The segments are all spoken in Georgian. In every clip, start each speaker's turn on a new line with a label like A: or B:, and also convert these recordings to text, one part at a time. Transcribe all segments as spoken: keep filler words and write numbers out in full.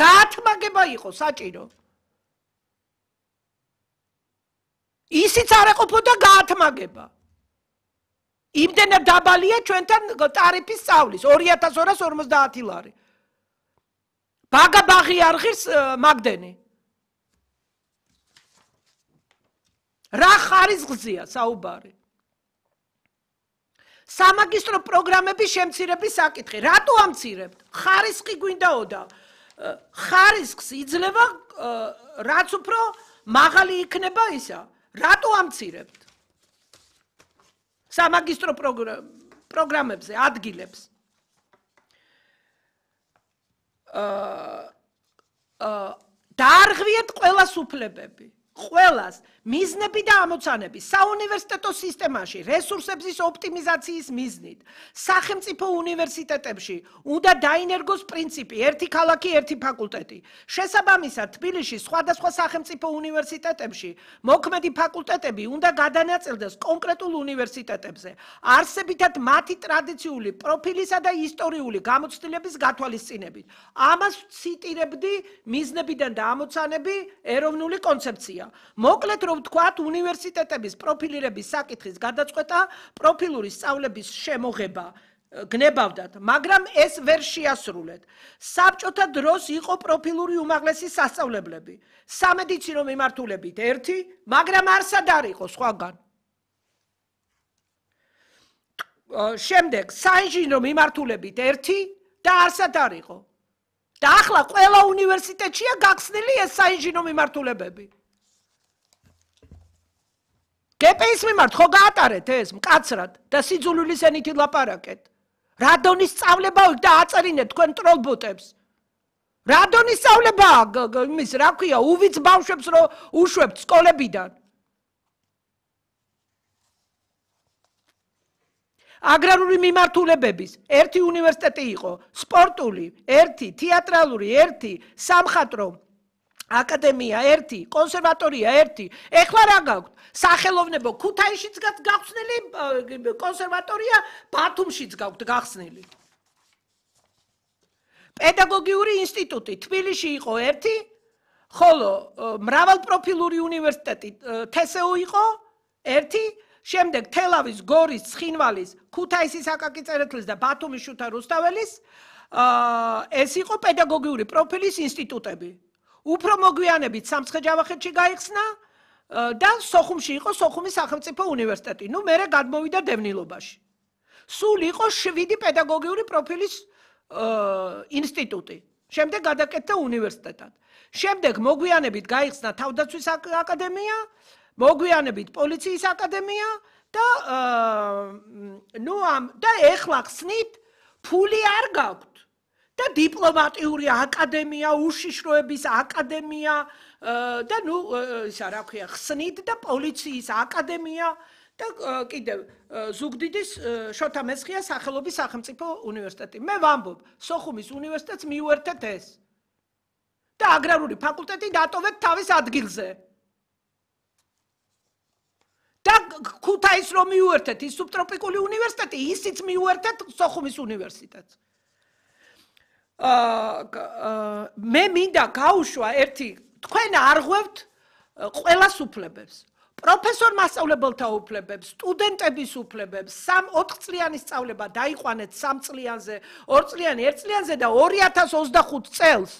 A: გაათმაგება იყო საჭირო. ისიც არ ეყოფოდა გაათმაგება. იმდენად დაბალია ჩვენთან ტარიფის სწავლის ორი ათას ორას ორმოცდაათი ლარი. ბაგა ბაღი არ ღირს მაგდენი. რა ხარისხზეა საუბარი? სამაგისტრო პროგრამების შემცირების საკითხი. რატო ამცირებთ? ხარისხი გვინდაოდა. ხარისხს იძლევა რაც უფრო მაღალი იქნება ისა. რატო ამცირებთ? სამაგისტრო პროგრამებზე ადგილებს. დაარღვიეთ ყველას უფლებები. ყველას მიზნები და ამოცანები საუნივერსიტეტო სისტემაში რესურსების ოპტიმიზაციის მიზნით სახელმწიფო უნივერსიტეტებში უნდა დაინერგოს პრინციპი ერთი ქალაქი ერთი ფაკულტეტი. შესაბამისად თბილისში სხვადასხვა სახელმწიფო უნივერსიტეტებში მოქმედი ფაკულტეტები უნდა გადანაწილდეს კონკრეტულ უნივერსიტეტებზე არსებითად მათი ტრადიციული პროფილისა და ისტორიული გამოცდილების გათვალისწინებით. ამას ციტირებდი მიზნებიდან და ამოცანები ეროვნული კონცეფცია. მოკლედ რომ ვთქვათ, უნივერსიტეტების პროფილირების საკითხის გადაწყვეტა პროფილური სწავლების შემოღება გნებავდათ, მაგრამ ეს ვერ შეასრულეთ. საბჭოთა დროს იყო პროფილური უმაღლესი სასწავლებლები, სამედიცინო მიმართულებით ერთი, მაგრამ არსად არ იყო სხვაგან. შემდეგ საინჟინრო მიმართულებით ერთი და არსად არ იყო. და ახლა ყველა უნივერსიტეტშია გახსნილი ეს საინჟინრო მიმართულებები. გპის მიმართ ხო გაატარეთ ეს მკაცრად და სიძულვილის ენით ლაპარაკეთ. რა დონის სწავლებაა და აწერინეთ თქვენ ტროლბოტებს. რა დონის სწავლებაა იმის რა ქვია უვიც ბავშვებს რო უშვებთ სკოლებიდან. აგრარული მიმართულებების ერთი უნივერსიტეტი იყო, სპორტული ერთი, თეატრალური ერთი, სამხატვრო აკადემია ერთი, კონსერვატორია ერთი. ეხლა რა გაქვთ? სახელოვნებო ქუთაისშიც გახსნილი კონსერვატორია, ბათუმშიც გაქვთ გახსნილი. პედაგოგიური ინსტიტუტი თბილისში იყო ერთი, ხოლო მრავალპროფილური უნივერსიტეტი თსუ იყო ერთი, შემდეგ თელავის, გორის, ცხინვალის, ქუთაისის აკაკი წერეთლის და ბათუმის შუთა რუსთაველის ეს იყო პედაგოგიური პროფილის ინსტიტუტები. უფრო მოგვიანებით სამცხე-ჯავახეთში გაიხსნა და სოხუმში იყო სოხუმის სახელმწიფო უნივერსიტეტი. ნუ მერე გადმოვიდა დევნილობაში. სულ იყო შვიდი პედაგოგიური პროფილის ინსტიტუტი. შემდეგ გადაკეთდა უნივერსიტეტად. შემდეგ მოგვიანებით გაიხსნა თავდაცვის აკადემია, მოგვიანებით პოლიციის აკადემია და ნუ ამ და ეხლა ხსნით ფული არ გაქვთ. და დიპლომატიური აკადემია, უშიშროების აკადემია და ნუ ისა რა ქვია, ხსნით და პოლიციის აკადემია და კიდევ ზუგდიდის შოთა მესხიას სახელობის სახელმწიფო უნივერსიტეტი. მე ვამბობ, სოხუმის უნივერსიტეტს მიუერთეთ ეს. და აგრარული ფაკულტეტი დატოვეთ თავის ადგილზე. და ქუთაის რომ მიუერთეთ ის სუბტროპიკული უნივერსიტეტი, ისიც მიუერთეთ სოხუმის უნივერსიტეტს. მე მინდა გაუშვა ერთი, თქვენ არღვევთ ყველას უფლებებს. პროფესორ მასწავლებელთა უფლებებს, სტუდენტების უფლებებს, სამ ოთხ წლიანი სწავლება დაიყვანეთ სამ წლიანზე, ორ წლიანი ერთ წლიანზე და ორი ათას ოცდახუთ წელს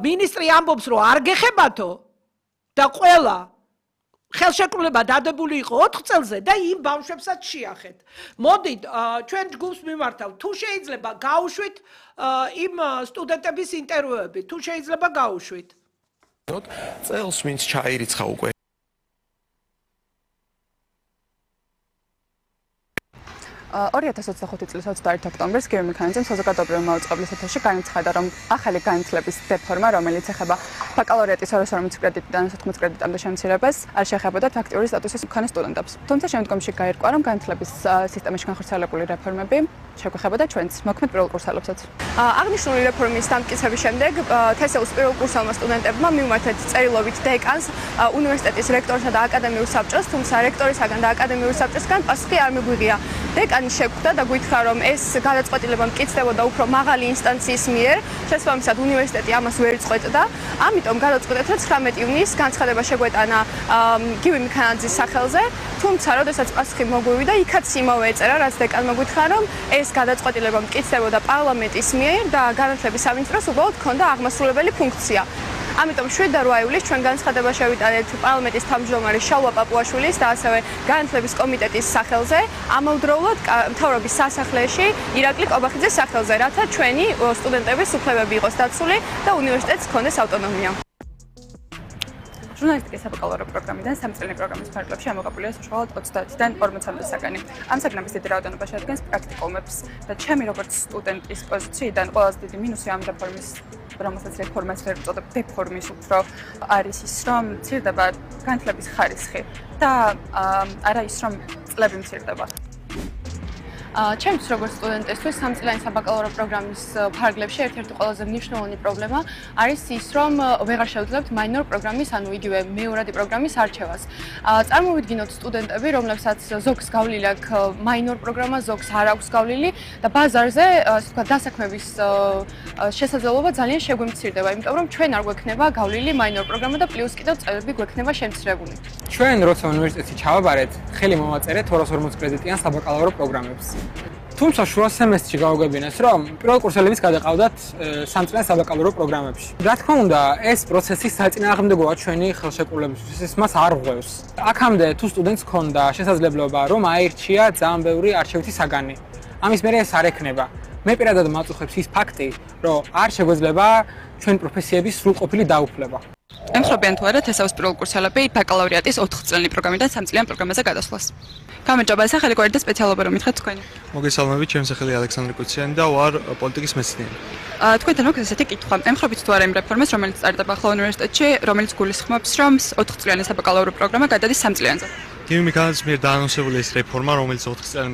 A: მინისტრი ამბობს, რომ არ გეხებათო და ყველა ხელშეკრულება დადებული იყო ოთხ წელზე და იმ ბავშვებსაც შეახეთ. მოდით, ჩვენ ჯგუფს მიმართავთ, თუ შეიძლება გაუშვით იმ სტუდენტების ინტერვიუები, თუ შეიძლება გაუშვით.
B: წელს ვინც ჩაირიცხა უკვე
C: ორი ათას ოცდახუთი წლის ოცდაერთი ოქტომბრის გიორგი მექანიძემ საზოგადოებრივ მაუწყებლის ეთერში განაცხადა, რომ ახალი განათლების რეფორმა, რომელიც ეხება ბაკალავრიატის ორას ორმოცი კრედიტიდან ოცდათხმეტ კრედიტამდე შემცირებას, არ შეეხებოდა ფაქტიური სტატუსის მქონე სტუდენტებს. თუმცა შემდგომში გაირკვა, რომ განათლების სისტემაში განხორციელებული რეფორმები შეგვეხებოდა ჩვენც მოქმედ პირველ კურსელობსაც.
D: აღნიშნული რეფორმის დამტკიცების შემდეგ თესეუს პირველ კურსელმა სტუდენტებმა მიუმართეთ წერილობით დეკანს, უნივერსიტეტის რექტორსა და აკადემიურ საბჭოს, თუმცა რექტორისაგან და აკადემიურ საბჭოსგან პასუხი არ მიგვიღია. დეკანი შეგვხვდა და გვითხრა, რომ ეს გადაწყვეტილება მტკიცდებოდა უფრო მაღალი ინსტანციის მიერ, შესაბამისად უნივერსიტეტი ამას ვერ წყვეტდა. ამიტომ გადაწყვეტეთ, რომ ცხრამეტი ივნისს განცხადება შეგვეტანა გივი მიქანაძის სახელზე, თუმცა როდესაც პასუხი მოგვივიდა, იქაც იმავე ეწერა, რაც დეკანმა გვითხრა, რომ ეს გადაწყვეტილება მტკიცდებოდა პარლამენტის მიერ და განათლების სამინისტროს უბრალოდ ჰქონდა აღმასრულებელი ფუნქცია. ამიტომ შვიდ და რვა ივლისს ჩვენ განცხადება შევიტანეთ პარლამენტის თავმჯდომარის შალვა პაპუაშვილის და ასევე განათლების კომიტეტის სახელზე, ამავდროულად მთავრობის სასახლეში ირაკლი კობახიძის სახელზე, რათა ჩვენი სტუდენტების უფლებები იყოს დაცული და უნივერსიტეტს ჰქონდეს ავტონომია.
C: ჟურნალისტიკის საბაკალავრო პროგრამიდან სამწლიანი პროგრამის ფარგლებში ამოღებულია საშუალოდ ოცდაათიდან ორმოცამდე საგანი. ამ საგნების დიდი რაოდენობა შეადგენს პრაქტიკუმებს და ჩემი როგორც სტუდენტის პოზიციიდან ყველაზე დიდი მინუსი ამ რეფორმის, რომელსაც რეფორმას ვერ ვწოდებ დეფორმის უფრო არის ის, რომ მცირდება განათლების ხარისხი და არა ის, რომ წლები მცირდება.
D: ჩემთვის როგორც სტუდენტისთვის სამწლიანი საბაკალავრო პროგრამის ფარგლებში ერთ-ერთი ყველაზე მნიშვნელოვანი პრობლემა არის ის, რომ ვეღარ შევძლებთ მაინორ პროგრამის, ანუ იგივე მეორადი პროგრამის არჩევას. წარმოვიდგინოთ სტუდენტები, რომლებსაც ზოგს გავლილი აქვს მაინორ პროგრამა, ზოგს არ აქვს გავლილი და ბაზარზე, ასე ვთქვათ, დასაქმების შესაძლებლობა ძალიან შეგვიმცირდება, იმიტომ რომ ჩვენ არ გვექნება გავლილი მაინორ პროგრამა და პლუს კიდევ წელები გვექნება შემცირებული.
E: ჩვენ როცა უნივერსიტეტში ჩავაბარეთ, ხელი მოვაწერეთ ორას ორმოც კრედიტიან საბაკალავრო პროგრამებს. თუმცა შუა სემესტრში გავაგებინეს, რომ პირველ კურსელებიც გადაყავდათ სამწლიან საბაკალავრო პროგრამებში. რა თქმა უნდა, ეს პროცესი საწინააღმდეგოა ჩვენი ხელშეკრულებისთვის, ეს მას არ ღვევს. აქამდე თუ სტუდენტს ჰქონდა შესაძლებლობა, რომ აირჩია ძალიან ბევრი არჩევითი საგანი. ამის მერე ეს არ ექნება. მე პირადად მაწუხებს ის ფაქტი, რომ არ შეგვეძლება ჩვენი პროფესიების სრულყოფილი დაუფლება.
C: ემხრობიან თუ არა თესაუს პირველ კურსელები ბაკალავრიატის ოთხწლიანი პროგრამიდან სამწლიან პროგრამაზე გადასვლას. გამარჯობა, სახელი გვერდით და სპეციალობა რომ მითხრათ თქვენი.
B: მოგესალმებით, ჩემი სახელი ალექსანდრე კუციანი და ვარ პოლიტიკის მეცნიერი.
C: თქვენთან მოგვიყვება ესეთი კითხვა. ემხრობთ თუ არა იმ რეფორმას, რომელიც წარდება ახლა უნივერსიტეტში, რომელიც გულისხმობს, რომ ოთხწლიანი საბაკალავრო პროგრამა გადადის სამწლიანზე.
B: გივი მიქანაძის მიერ დაანონსებული ეს რეფორმა, რომელიც ოთხწლიანი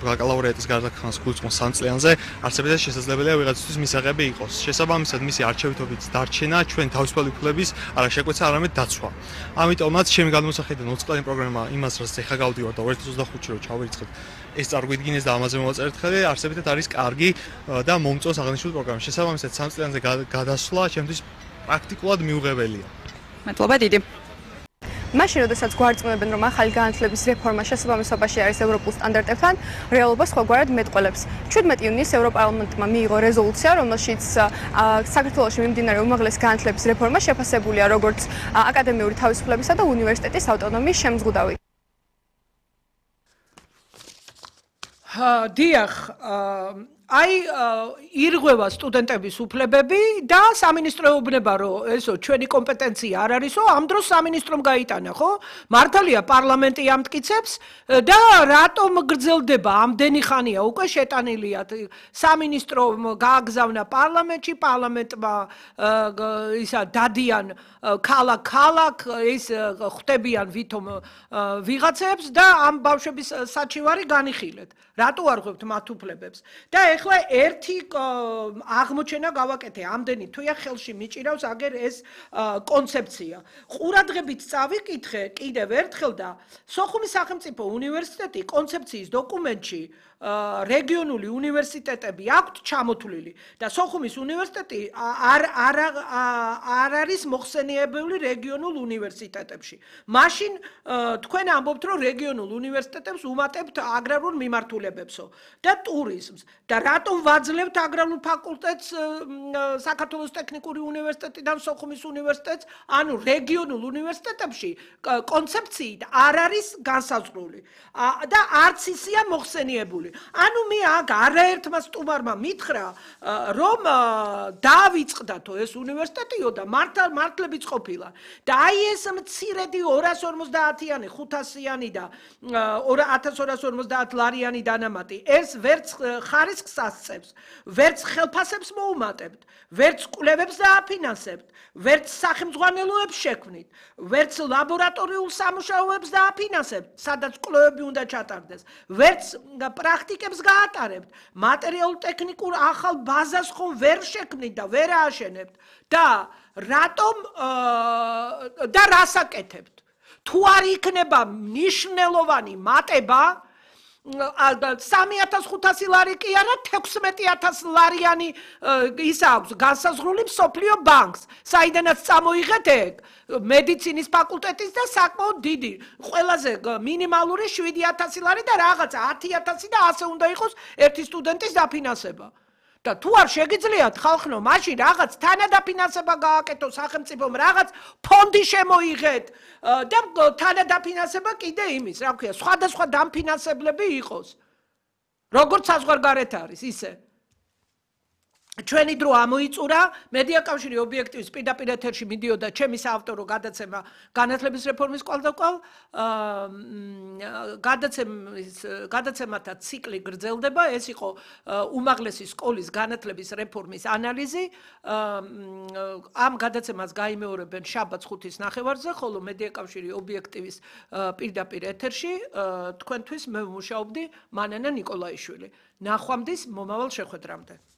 B: ბაკალავრიატის გარდაქმნას გულისხმობს სამწლიანზე, არსებითად შესაძლებელია ვიღაცისთვის მისაღები იყოს. შესაბამისად, მისი არჩევითობით დარჩენა ჩვენ თავისუფალი უფლების არა შეკვეცა, არამედ დაცვა. ამიტომაც ჩემი გადმოსახედიდან ოთხწლიანი პროგრამა იმას, რაც ეხა გავდივარ და ორ ათას ოცდახუთში რომ ჩავერიცხებ, ეს წარგვიდგინეს და ამაზე მოვაწერეთ ხელი, არსებითად არის კარგი და მომწონს აღნიშნული პროგრამა. შესაბამისად, სამწლიანზე გადასვლა ჩემთვის პრაქტიკულად მიუღებელია.
C: მადლობა დიდი.
D: მაშინ, როდესაც გვარწმუნებენ, რომ ახალი განათლების რეფორმა შესაბამისობაში არის ევროპულ სტანდარტებთან, რეალობა სხვაგვარად მეტყველებს. შვიდმეტი ივნისს ევროპარლამენტმა მიიღო რეზოლუცია, რომელშიც საქართველოში მიმდინარე უმაღლესი განათლების რეფორმა შეფასებულია როგორც აკადემიური თავისუფლებისა და უნივერსიტეტის ავტონომიის შემზღუდავი.
A: დიახ, აი ირღვევა სტუდენტების უფლებები და სამინისტროეუბნება, რომ ესო ჩვენი კომპეტენცია არ არისო, ამ დროს სამინისტრომ გაიტანა, ხო? მართალია პარლამენტი ამტკიცებს და რატომ გრძელდება ამდენი ხანია უკვე შეტანილია სამინისტრომ გააგზავნა პარლამენტში, პარლამენტმა ისა დადიან ქალაქ-ქალაქ ის ხვდებიან ვითომ ვიღაცებს და ამ ბავშვების საჩივარი განიხილეთ. რატო არ ღვევთ მათ უფლებებს? და ეხლა ერთი აღმოჩენა გავაკეთე, ამდენი თვეა ხელში მიჭირავს აგერ ეს კონცეფცია. ყურადღებით წავიკითხე კიდევ ერთხელ და სოხუმის სახელმწიფო უნივერსიტეტი კონცეფციის დოკუმენტში რეგიონული უნივერსიტეტები აქვთ ჩამოთვლილი და სოხუმის უნივერსიტეტი არ არ არ არის მოხსენიებული რეგიონულ უნივერსიტეტებში. მაშინ თქვენ ამბობთ, რომ რეგიონულ უნივერსიტეტებს უმატებთ აგრარულ მიმართულებებსო და ტურიზმს და რატომ ვაძლევთ აგრარულ ფაკულტეტს საქართველოს ტექნიკური უნივერსიტეტიდან სოხუმის უნივერსიტეტს, ანუ რეგიონულ უნივერსიტეტებში კონცეფციით არ არის განსაზღვრული და არც ისია მოხსენიებული. ანუ მე აქ არაერთმა სტუმარმა მითხრა, რომ დაავიწყდათო ეს უნივერსიტეტიო და მართალ მართლებიც ყოფილა. და აი ეს მცირედი ორას ორმოცდაათიანი, ხუთასიანი და ათას ორას ორმოცდაათ ლარიანი დანამატი, ეს ვერც ხარისხს ასწევს, ვერც ხელფასებს მოუმატებთ, ვერც კვლევებს დააფინანსებთ, ვერც სახელმძღვანელოებს შექმნით, ვერც ლაბორატორიულ სამუშაოებს დააფინანსებთ, სადაც კვლევები უნდა ჩატარდეს, ვერც პრაქტიკებს გაატარებთ, მატერიალურ-ტექნიკურ ახალ ბაზას ხომ ვერ შექმნით და ვერ ააშენებთ და რატომ და რას აკეთებთ? თუ არ იქნება მნიშვნელოვანი მატება სამი ათას ხუთასი ლარი კი არა, თექვსმეტი ათას ლარიანი ის აქვს განსაზღვრული მსოფლიო ბანკს, საიდანაც წამოიღეთ ეგ მედიცინის ფაკულტეტის და საკმაოდ დიდი, ყველაზე მინიმალური შვიდი ათასი ლარი და რაღაცა ათი ათასი და ასე უნდა იყოს ერთი სტუდენტის დაფინანსება. და თუ არ შეგიძლიათ ხალხნო, მაშინ რაღაც თანადაფინანსება გააკეთო სახელმწიფომ, რაღაც ფონდი შემოიღეთ და თანადაფინანსება კიდე იმის, რა ქვია, სხვადასხვა დამფინანსებლები იყოს. როგორც საზღვარგარეთ არის, ისე. ჩვენი დრო ამოიწურა, მედია კავშირი ობიექტივის პირდაპირ ეთერში მიდიოდა ჩემი საავტორო გადაცემა განათლების რეფორმის კვალდაკვალ, გადაცემის გადაცემათა ციკლი გრძელდება, ეს იყო უმაღლესი სკოლის განათლების რეფორმის ანალიზი. ამ გადაცემას გაიმეორებენ შაბათს ხუთის ნახევარზე, ხოლო მედია კავშირი ობიექტივის პირდაპირ ეთერში თქვენთვის მე ვმუშაობდი მანანა ნიკოლაიშვილი. ნახვამდის მომავალ შეხვედრამდე.